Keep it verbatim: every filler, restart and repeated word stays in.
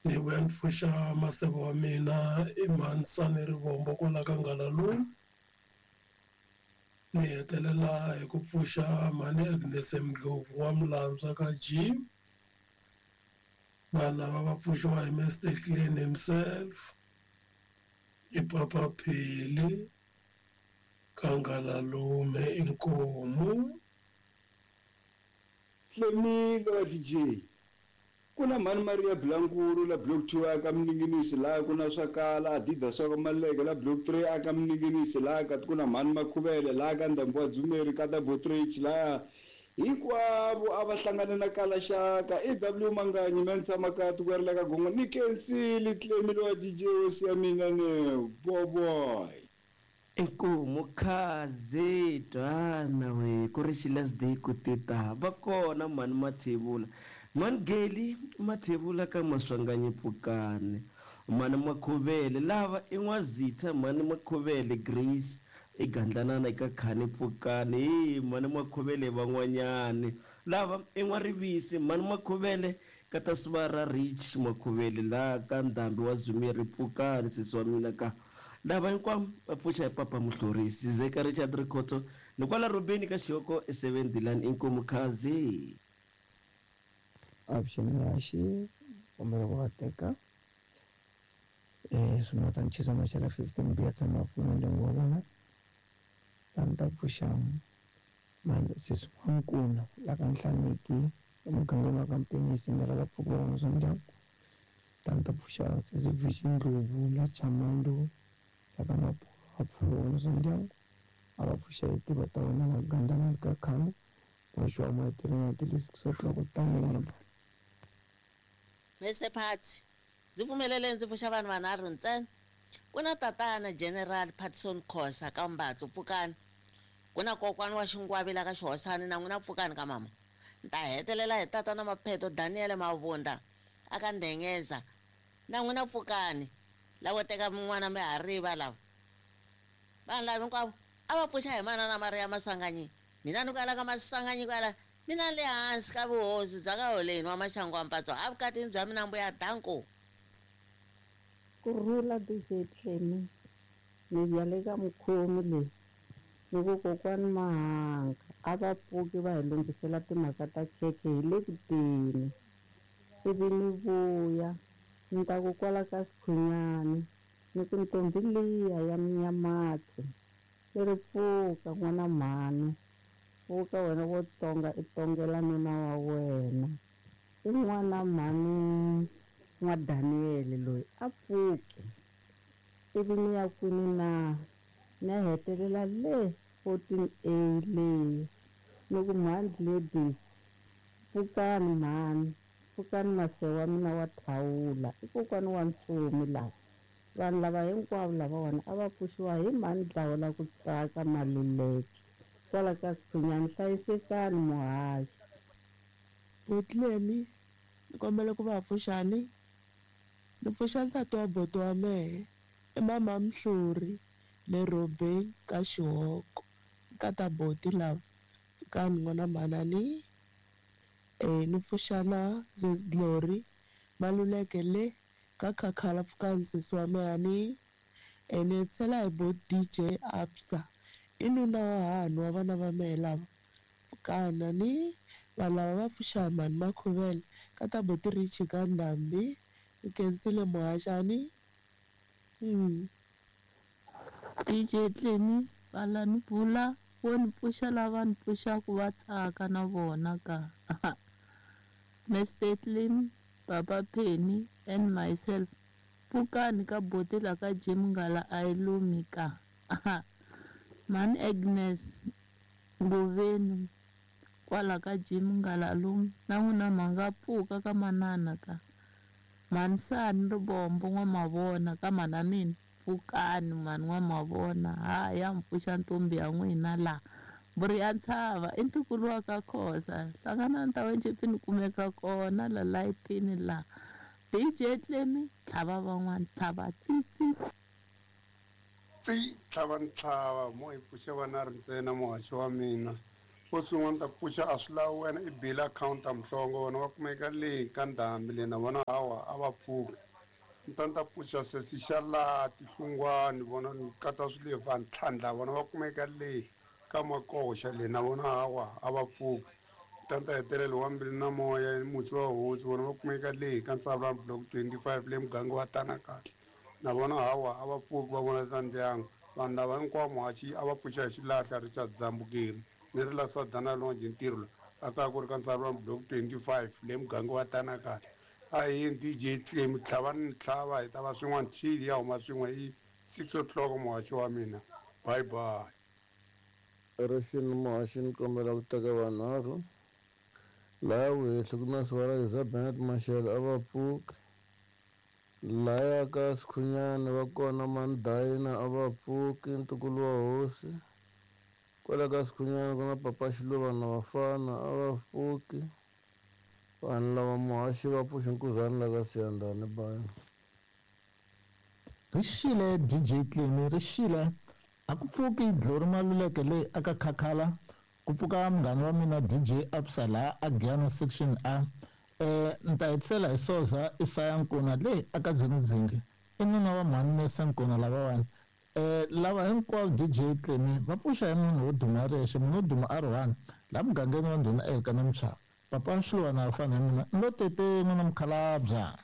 Ni vuya ni pfuxa maseve wa mina i Mhansani Rivombo kwala ka Ngalalume. Ni hetelela hi ku pfuxa mhani Agnes Ndlovu wa Mlandzwa ka Jim. Vanhu lava va pfuxiwa hi Mister Clean himself, i Papa Phili ka Ngalalume inkomu. Tlemile wa D J. Ku na mhani Maria Blankulu la block two aka Mninginisi laha ku na swakala Adidas swa ka Maleke la block three aka Mninginisi laha ka ku na mhani Makhuvele laha ka Ndhambi wa Dzumeri ka ta Botrich laha hinkwavo a va hlangane na kala xaka E W Manganyi Mensa Makati ku ri la ka Gongo ni Kensile Tlemile wa D J hosi ya mina ne boboy. Inkomu khaze twana we ku ri xilast day ku tita va kona mhani Mathebula mhani Geli Mathebula ka Maswanganyi Pfukane mhani Makhuvele lava i N'wazitha mhani Makhuvele Grace i Gandlanana eka Khani Pfukane hi mhani Makhuvele van'wanyani lava i N'warivisi mhani Makhuvele ka ta Sivara Rich Makhuvele la ka Ndhambi wa Dzumeri Pfukane sesi wa mina ka lava hinkwavo va pfuxa hi Papa Muhlorisi Zeka Richard Rikhotso ni kwala Robeni ka Xihoko e seven Dilan inkomu khazi. Option ya xi kombela ku va teka eh swin'wana ta nchisa maxela fifteen B ya tshama pfuna ndyangu wa vona ta ni ta pfuxa mani sesi wa Nkuna la ka Nhlaneki emugangeni wa ka Mpenisi ni rhala pfuka vona swa ndyangu ta ni ta pfuxa sesi Vision Ndlovu la Chamandu la ka Mapuro a pfuka vona swa ndyangu a va pfuxa hi tiva ta wena la Gandana ka Khami wa mahetelelo ya ti six o'clock ta n'wina. Mese Phathi ndzi pfumelele ndzi pfuxa vanhu vanharhu ntsena. Ku na tatana General Patson Khosa ka Mbatlo Pfukani, ku na kokwana wa Xingwavi la ka Xihosani na n'wina Pfukani ka mama. Ni ta hetelela hi tatana Mapheto Daniel Mavunda aka Ndengeza na n'wina Pfukani lavo teka n'wana mi ha riva lava. Vanhu lava hinkwavo a va pfuxa hi manana Maria Maswanganyi. Mina ni kwala ka Maswanganyi kwala mina le hansi ka vuhosi bya ka Holeni wa Maxangu wa Mpatso evukatini bya mina mbuya danko. Kurhula D J Tlemi ni ya le ka mukhomi leyi ni ku kokwani Mahanga a va pfuki va hi lunghisela timhaka ta khekhe hi le ku teni ivi ni vuya ni ta ku kwala ka Sikhunyani ni ku ntombi liya ya Minyamatsi yi ri pfuka n'wana mhani pfuka wena wo tonga i tongela nuna wa wena i n'wana mhani n'wa Daniel loyi a pfuke ivi ni ya kwini na ni ya hetelela le fourteen A leyi ni ku mhani ladies pfukani mhani pfukani mase wa mina wa thawula i kokwani wa Ntsumi lava vanhu lava hinkwavo lavawani a va pfuxiwa hi mhani Dlawu la ku tsaka Maluleke kwala ka Sikhunyani hlayisekani muhaxi. Botlemi ni kombela ku va pfuxani ni pfuxa nsati wa boto wa mehe i mama Mhluri le Robeni ka Xihoko ka ta boti lava pfukani n'wana mhanani eh ni pfuxa na Zez Glory Maluleke le ka Khakhala pfukani sesi wa mehe ni eh ni hetisela hi bo D J Absa i nuna wa hanu wa vana va mehe lava pfukana ni vanhu lava va pfuxa hi mhani Makhuvele ka ta boti Richi ka Ndhambi ni khensile muhaxani. Mm. D J Tlemi vala ni bula vo ni pfuxa lava ni pfuxaku va tsaka na vona ka Mister Clean Papa Penny and myself pfukani ka boti la ka Jim Ngala a yi lumi ka Mhani Agnes Ngoveni kwala ka Jim Ngala lumi na n'wina ma nga pfuka ka manana ka Mhani Sani Ribombo n'wa mavona ka mhana mina pfukani mhani n'wa mavona ha ya mi pfuxa ntombi ya n'wina la mburi ya ntshava i ntukulu wa ka Khosa hlangana ni ta wencipini kumeka kona la layitini la D J Tlemi tlhava van'wana tlhava tsitsi tsi tlhava ntlhava mo hi pfuxe vana ri ntsena muhaxi wa mina Xo sungula ni ta pfuxa a swi lavi wena i bile akhawunti ya Mhlongo vona va kumeka le ka ndhambi le na vona hawa a va pfuki. Ni ta ni ta pfuxa sesi xa laha Tihlungwani vona ni kata swilevha ntlhandla vona va kumeka le ka Makoxa le na vona hawa a va pfuki. Ni ta ni ta hetelela wa Mbilu na Moya mutsi wa hosi vona va kumeka le ka Nsavulani block twenty-five le muganga wa Tana kahle na vona hawa a va pfuki va vona ta ndyangu. Vanhu lava hinkwavo muhaxi a va pfuxa hi xilahla Richard Dzambukeri ni ri la Swadana Longe ntirho la a ka ku ri ka Nsavulani block twenty-five le muganga wa Tana kahle. A hi yini D J Clem tlhava ni tlhava hi ta va swin'wana chili ya huma swin'we hi six o'clock muhaxi wa mina. Bye bye. Rixini muhaxi ni kombela ku teka vanharhu laha Wehli ku na Siwara za Bennett Mashele a va pfuki, laya ka Sikhunyani va kona Mandayina a va pfuki ntukulu wa hosi, kwala ka Sikhunyani ku na Papa Xiluva na Vafana a va pfuki. Vanhu lava muhaxi va pfuxa nkuzani la ka Siyandhani bye. Rixile D J Clemi rixile a ku pfuki Glory Maluleke leyi aka Khakhala ku pfuka munghana wa mina D J Absa laha a Giyani section A. Eh ni ta hetisela hi Soza Isaya Nkuna leyi aka Dzingidzingi i nuna wa mhani Nesa Nkuna lavawani. Eh lava hinkwavo D J Clemi va pfuxa hi munhu wo duma rexe munhu wo duma a ri one laha mugangeni wa ndhuna Elkana Mchava. Papa Xiluva na Vafana hi mina ni lo tete n'wina mukhalabya.